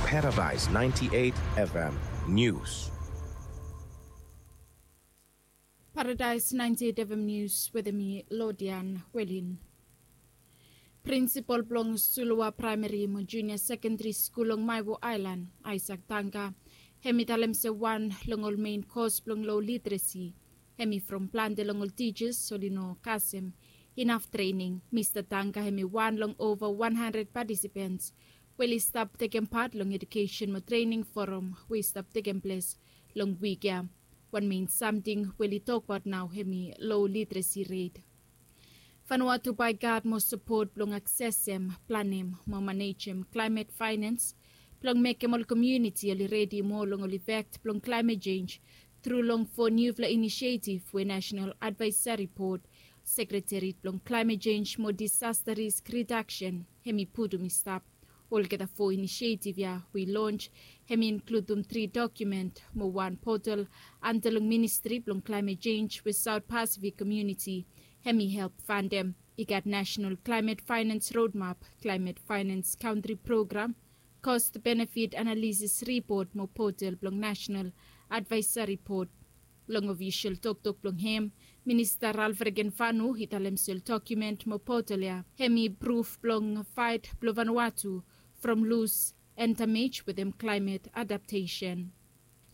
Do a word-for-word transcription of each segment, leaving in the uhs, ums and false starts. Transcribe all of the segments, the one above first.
Paradise ninety-eight F M News. Paradise ninety-eight F M News wetem mi Lodian Welin. Prinsipal blong Suluwa Praemari mo Junia Sekendari Skul long Maewo Aelan, Aisak Tangka, hem i talem se wan long ol mein kos blong lo literesi hem i from plante long ol tijas oli no kasem inaf trening. Mista Tangka hem i wan long ova wan handred patisipens we oli stap tekem pat long edukesen mo trening foram we i stap tekem ples long wik ya. Wan mein samting we oli tokbaot nao hem i lo literesi ret. Vanuatu bae gad mo sapot blong aksesem, planem mo manejem klaemet faenans blong mekem ol komuniti oli redi moa long ol ifek blong klaemet jenj tru long fo niufala inisietif we Nasenal Advaesari Bod, Sekretariat blong Klaemet Jenj mo Disasta Risk Ridaksen hem i putum i stap. Olgeta fo inisietif ya we i lons hem i inkludim tri dokumen mo wan potal anda long Ministri blong Klaemet Jenj we Saot Pasifik komuniti hem i help fandem. I gat Nasenal Klaemet Faenans Rodmap, Klaemet Faenans Kantri Program, Kost Benefit Analisis Ripot mo potal blong Nasenal Advaesari Bod. Long ofisol toktok blong hem, Minista Ralph Regenvanu i talem se ol dokumen mo potal ya hem i pruf blong faet blong Vanuatu from lus en damej wetem klaemet adaptesen.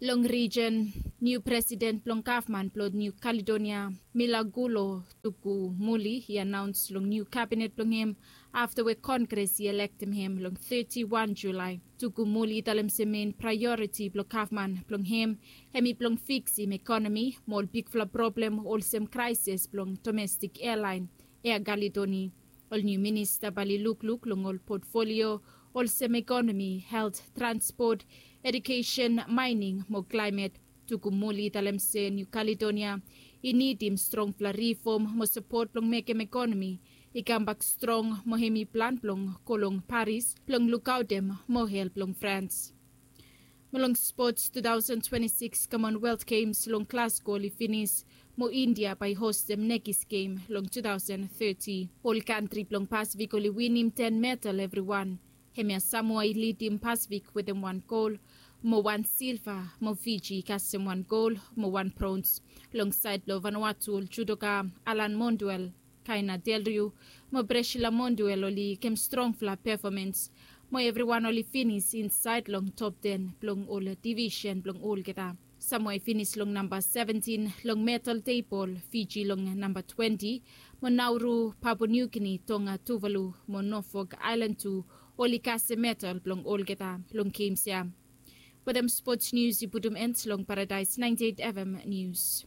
Long rijen, niu presiden blong gavman blong Niu Kaledonia, Milagulo Tukumuli, i anaons long niu kabinet blong hem afta we Kongres i elektem hem long teti wan Julae. Tukumuli i talem se mein praeoriti blong gavman blong hem hem i blong fiksim ekonomi mo ol bigfala problem olsem kraesis blong domestik ealaen, Air Caledoni. Ol niu minista bae oli lukluk long ol potfolio olsem ekonomi, helt, transpot, edukesen, maening mo klaemet. Tukumuli i talem se Niu Kaledonia i nidim strongfala rifom mo sapot blong mekem ekonomi i kambak strong mo hem i plan blong go long Paris blong lukaotem mo help long Frans. Mo long spots, two thousand twenty-six Commonwealth Games long Glasgow oli finis, mo India bae i hostem nekis gem long two thousand thirty. Ol kantri blong Pasifik oli winim ten medal evriwan. Hemia Samoa i lidim Pasifik wetem wan gol mo wan silva, mo Fiji i kasem wan gol mo wan brons. Long saed blong Vanuatu, ol judoka Alan Monduel, Kaina Delriu mo Presila Monduel oli givim strongfala pefomens, mo evriwan oli finis insaed long top ten blong ol divisen blong olgeta. Samoa i finis long namba seventin long medal tebol, Fiji long namba twenti, mo Nauru, Papua New Guinea, Tonga, Tuvalu mo Norfolk Aelan tu oli kasem medal blong olgeta long gems ya. Wetem spots nius i putum en long Paradise ninety-eight F M Nius.